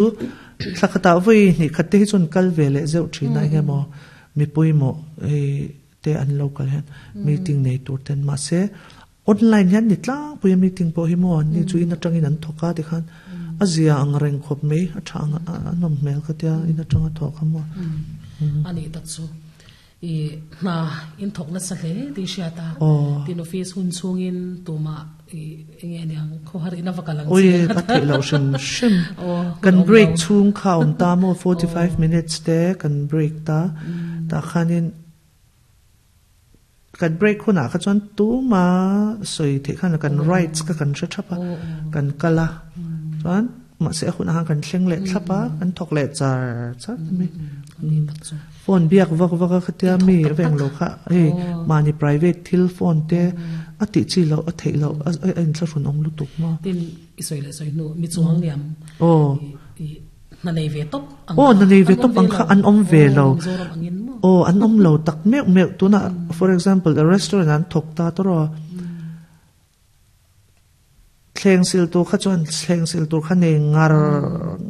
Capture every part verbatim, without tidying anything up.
Thla khatah vawi hnih khat te hi chuan kal ve leh zeuh thin a eng emaw mi pawimawh te an lo kal hian meeting nei tur ten mahse online hian ni tlangpui a meeting pawh hi maw ni chu in atangin an thawk a tikhan a zia ang reng khawp mai a tha ang a nawm hmel ka tia in atanga thawk kha maw. Ani tak chu i hna in thawk nasa hle tih hriat a tin office hun chhungin tumah i enge aniang khawhar in a va kal ang che. Oi ka theih loh hrim hrim kan break chhung kha a awm ta maw forty five minutes te kan break ta tah khanin kan break hunah kha chuan tuma sawi theih khan kan rights kha kan hre thap a kan kal a chuan mahse a hunah khan kan thleng leh thlap a kan thawk leh char char mai. Phone biak vak vak a khatia mi a veng lo kha hei mahni private thil phone te a tih chi loh a theih loh a inthlahrun awm lutuk maw. Tin i sawi leh sawi hnu mi chuang liam i hna nei ve tawp ang kha hna nei ve tawp ang kha an awm ve lo aw an awm lo tak meuh meuh tunah for example a restaurant an thawk ta tawrh a thleng sil tur kha chuan thleng sil tur kha nei ngar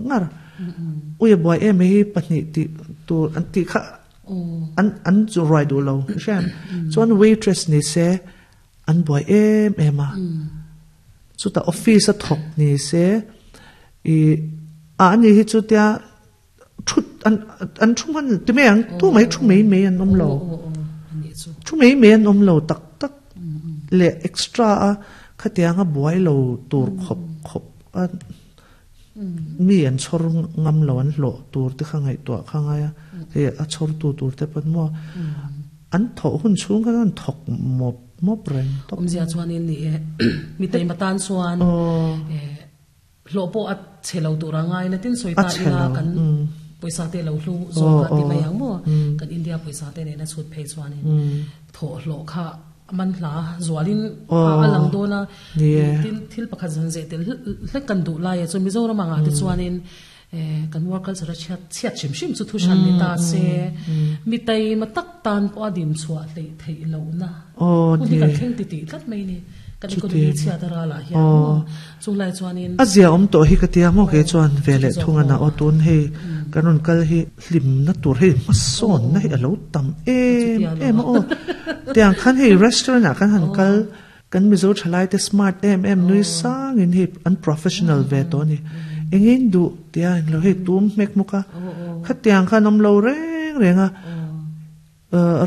ngar ui a buai em mai hi pahnih tih tur an tih kha an an chu ruai duh lo hriat chuan waitress ni se an buai em em a chutah office a thawk ni se ih a ani hi chu tia thut an an thu hman ti mai ang tu mai thu mai mai an awm lo thu mai mai an awm lo tak tak leh extra a khatianga buai lo tur khawp khawp a mi an chhawr ngam lo an hlawh tur te kha ngaihtuah kha ngai a hei a chhawr tu tur te pawn maw an thawh hun chhung khan an thawk mawp mawp reng tawp. Awmzia chuanin ni e mi taima tan chuan hlawh pawh a chhe lo tur a ngai na tin sawi ta ila kan pawisa te lo hlu zawk a ti mai ang maw kan India pawisa te nena chhut phei chuanin thawh hlawh kha a man hla zualin a lang dawn a tin thil pakhat zan zeh tel hlek kan duh lai a chu Mizoram angah te chuanin kan work culture a chhiat chhiat hrim hrim chu thu hran ni ta se mi taima tak tan pawh a dim chhuah hleih theih lohna hun hi kan thleng ti tih tlat mai ni kan economy chhiat a ralah hian maw chulai chuanin a zia awm tawh hi ka tia maw kei chuan ve leh thung a na aw tun hei kan rawn kal hi hlimna tur hei hmasawnna hi a lo tam em em a aw tiang khan hei restaurant ah kan han kal kan Mizo thalai te smart em em nui sangin hei an professional ve tawh a ni engin duh tia englo hei tum hmek hmuk a khatiang khan awm lo reng reng a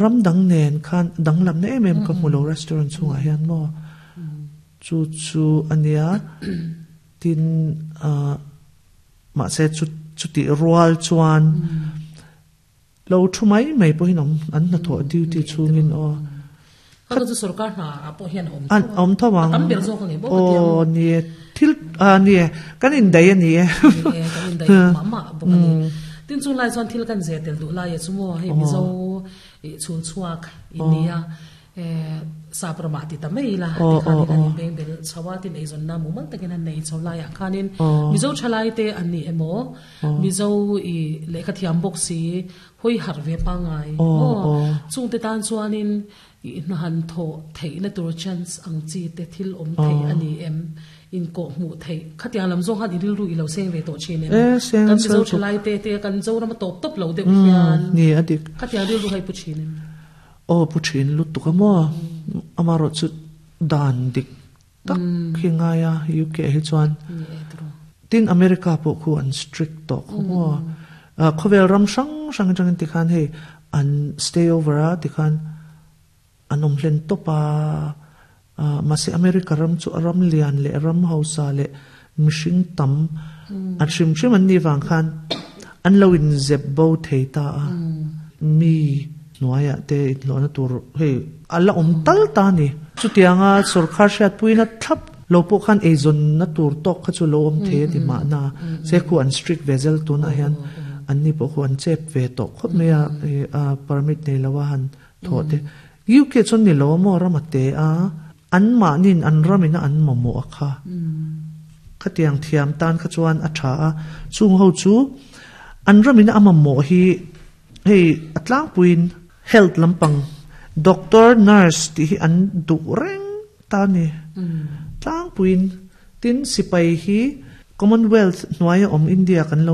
ram dang nen khan danglamna em em ka hmu lo restaurant chhungah hian maw chu chu a nia tin ah mahse chu chutih rual chuan lo thu mai mai pawhin awm an hnathawh duty chhungin aw Kha chu sorkar hna ah pawh hian a awm tho a awm tho ang a tam ber zawk a ni bawk a ti ang aw ni e thil ah ni e kan indaih a ni e ni e kan indaih mah mah bawk a ni tin chu lai chuan thil kan zeh tel duh lai a chu maw hei Mizo ih chhul chhuak in nia eh sap ramah ti ta mai ila tikhanin an inbeng bel chho a tin eizawnna mumal takin an nei chho laiah khanin Mizo thalai te an ni emaw Mizo ih lehkha thiam bawk si hawi harh ve pangngai aw chungte tan chuanin ih hna han thawh theihna tur chance ang chi te thil awm theih a ni em inkawh hmuh theih khatiang lam zawng khan i rilru i lo seng ve tawh thin em kan Mizo thalai te te kan Zoram a tawp tawp lo deuh hian khatiang rilru kha i pu thin em. Aw pu thin lutuk a maw amaherawh chu dan dik tak hi ngai a U K hi chuan tin America pawh khu an strict tawh khaw maw khawvel ram hrang hrang atangin tikhan hei an stay over a tikhan an awm hlen tawp a mahse America ram chu a ram lian leh ram hausa leh mihring tam an hrim hrim an nih vang khan an lo inzep bo thei ta a mi hnuaiah te inhlawhna tur hei a la awm tal ta a ni. Chutianga sorkar hriatpuina thlap lo pawh khan eizawnna tur tawk kha chu lo awm thei a ti mahna se khu an strict ve zel tunah hian anni pawh khu an chep ve tawh khawp mai a a permit nei lo a han thawh te. U K chuan ni lo a maw ram a te a an mahnin an ramina an mamawh a kha khatiang thiam tan kha chuan a tha a chung ho chu an ramina a mamawh hi hei a tlangpuiin health lampang doctor nurse tih hi an duh reng ta a ni tlangpuiin tin sipai hi Commonwealth hnuaia awm India kan lo